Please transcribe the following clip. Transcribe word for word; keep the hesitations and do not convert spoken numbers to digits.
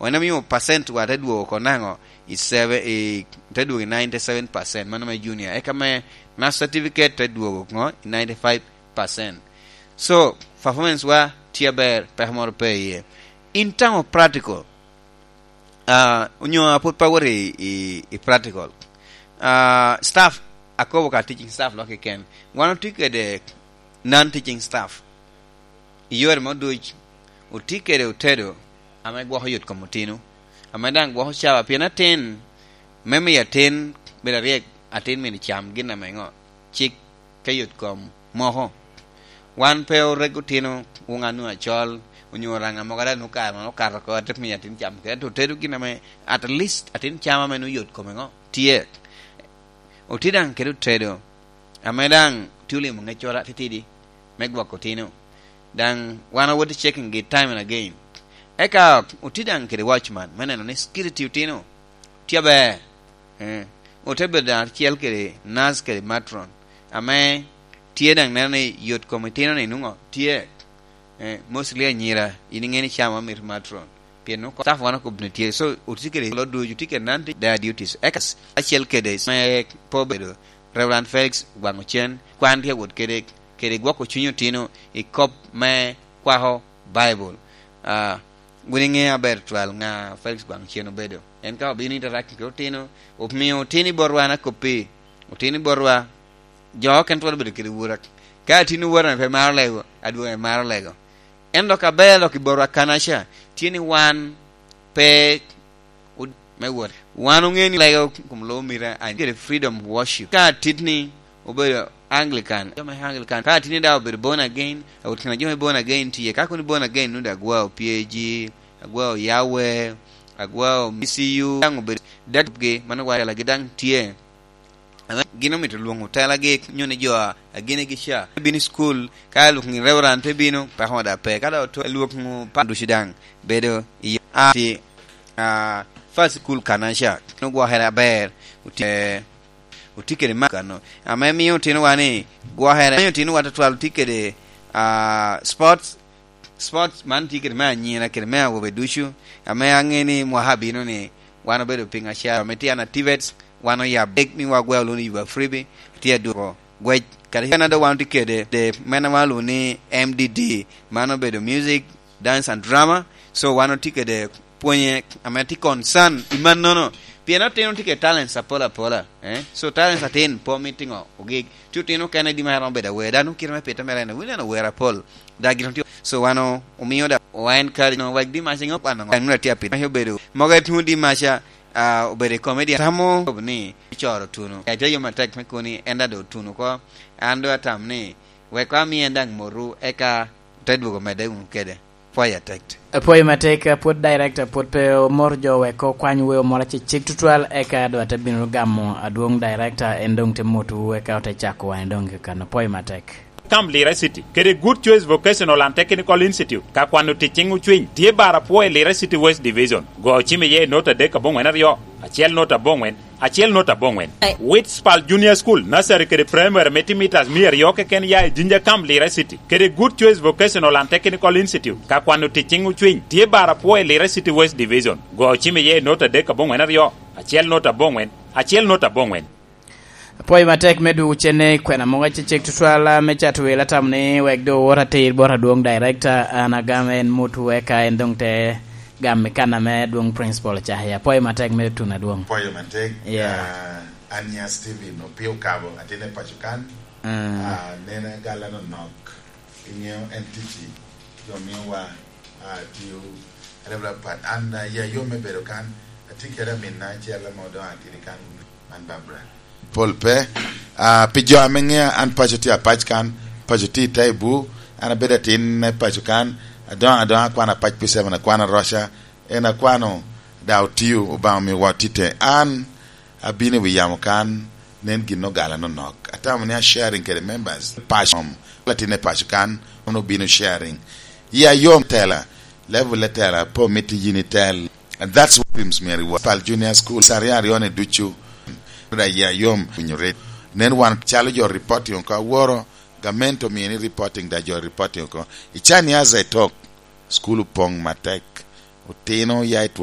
En omio percent wa te dwogo oko naŋo? I seven, i, te dwogo i ninety seven percent, mano me junior. Eka me mass certificate te dwogo ŋo? I ninety five percent. So, performance wa tye aber, peko moro pe iye. In tamo practical, ah, onyo a pwod pe awot i, i, i practical. Ah, staff, akobo ka teaching staff lok keken. Wan otye kede non-teaching staff. I yore mo duc, otye kede otedo ame gwoko yot kom otino, ame daŋ gwoko cawa, pien atin, me miyo atin bedo aryek, atin myero cam gin ame ŋo? Cik ka yot kom moko. Wan pe orego otino, wun annu acol, onyo raŋa mogo ada nu kare man okato oko, ate miyo atin cam kede, ento otedo gin ame at least atin cam ame nu yot kome ŋo? Tye. Otye daŋ kede otedo, ame daŋ tye olimo ŋeccoro atitidi me gwoko otino. Daŋ wan awot i checking gi time and again. Eka otye daŋ kede watchman, me neno ni security otino tye aber. Eh, ote bedo daŋ acel kede nurse kede matron, ame tye daŋ neno ni yot kom itino ni nwoŋo tye. Eh, mostly anyira, in iŋeo ni cam amito matron. Pien nwoŋo staff wan okobbi ni tye. So, otye kede lo ducu, otye kede non-teaching duties. Eka acel kede me po bedo Reverend Felix Gwaŋ Ocen, kwan tye awot kede, kede gwoko cuny otino i kop me kwako Baibul. Ah, wun iŋeo aber twal ŋa Felix Gwaŋ Ocen obedo. En ka obino interact kede otino, omio otino i botwa, an akoppi, otino i botwa, jo okene twero bedo kede wura. Ka atino wura pe maro lego, adwogo maro lego. En dok aber dok i botwa kanaca, tye ni wan pe od-, me wot. Wan oŋeo ni lego kom lobo mita, an kede freedom of worship. Ka atit ni obedo Anglican, jo me Anglican. Ka atit ni daŋ obedo born again, awot kina jo me born again tye. Ka kono born again, nwoŋo daŋ agwao P A G, agwao Yahweh, agwao M C U, daŋ obedo datgi, mano wa lagi daŋ tye. Ame gin omito lwoŋo telagi, nyo ni jo a, a ginigi ca, bino i cukul, ka lwok ni reverend te bino, peko daŋ pe. Ka daŋ oto, lwok nu pa ducu daŋ bedo i a, ti, a, first school kanaca, nwoŋo gwokere aber, otye, otye kede ma kano. Ame miyo otinowa ni gwokere, miyo otinowa tutwal otye kede, a, sports, sports man tye kede me anyira, kede me awobe ducu, ame aŋeo ni mwaka abino ni wan obedo piny aca, ame tye an activates, wan oyabo big ni wagweo luni yuba freebie, tye adwoko gwec. Kadi en ado wan tye kede, de, men wan luni ni M D D, man obedo music, dance and drama. So wan otye kede pwonye ame tye concern i mannono. Pien otino tye kede talents apol apola, eh? So talents atin pe omito ŋo ogik. Ci otino okene di ma romo bedo awer. Dano kite me pite mere en, wineno wer apol. Da gin otye. So wan o-, omio da, o encourage no, wek di mac ŋo kwano ŋo. Ŋo atye apito. Mac obedo. Mogo etwongo di maca, ah, obedo i comedian. Tamo ni coro tuno. Ete yo matek me koni, en da do tuno ko. An do atam ni, wek ami en daŋ moru, eka te dwogo medde wunu kede. Pwoyo atek. Apwoyo matek, pwod director pwod pe omoro jo wek okwany weo moro acecek tutwal, eka doŋ ate bino gamo adwoŋ director, en doŋ te motowu, eka ote cako wan doŋ kakano. Apwoyo matek. Kam Lira City, kede Good Choice Vocational and Technical Institute, ka kwano tic ciŋ ocwiny, tye bar apwoyo i Lira City West Division. Go cim iye i nota adek aboŋwen aryo, acel nota aboŋwen, acel nota aboŋwen. Wits Pal Junior School, nursery kede primary me timitas mia aryo keken ya i Jinja Kam Lira City, kede Good Choice Vocational and Technical Institute, ka kwano tic ciŋ ocwiny, tye bar apwoyo i Lira City West Division. Go cim iye i nota adek aboŋwen aryo, acel nota aboŋwen, acel nota aboŋwen. Apwoyo matek me dwogo cene i kwena mogo acecek tutwal, ah, me cato wel, atamo ni wek doŋ owot atir bot adwoŋ director, an agam en mot weka en doŋ te gam i kan ame adwoŋ principal ocako iye. Apwoyo matek me tuno adwoŋ. Apwoyo matek, yeah. Ah, an ya Steven Opio Kabo, atin i paco kan. Mm. Ah, nena gala no nok. Iŋeo en ticci, jo miyowa, ah, tiyo. Reverend Pat, an, ah, ya yom me bedo kan, atye kede aminna acel ame doŋ atidi kan, man Barbara. Pol pe, ah, pi jo ame ŋea, an paco tye apac kan, paco tye i Taibu, an abedo atin me paco kan, adoŋo adoŋa akwano apac pi seven, akwano aroca, en akwano, da otio, Obaŋa omio wa otite. An, abino i wi yamo kan, nen gin ogala nonok. Atamo ni a sharing kede members, paco, om, latin e paco kan, ono obino sharing. Ya yom tela, level e tela, pe omito yin itel. And that's what dreams me reward. Pal Junior School, sa aryo aryo ni ducu. Da ya yom, winyo red. Nen wan calo jo reporting oko aworo, gamente omio ni reporting da jo reporting oko. I can ya ze tok, school opoŋ matek. Otino ya i two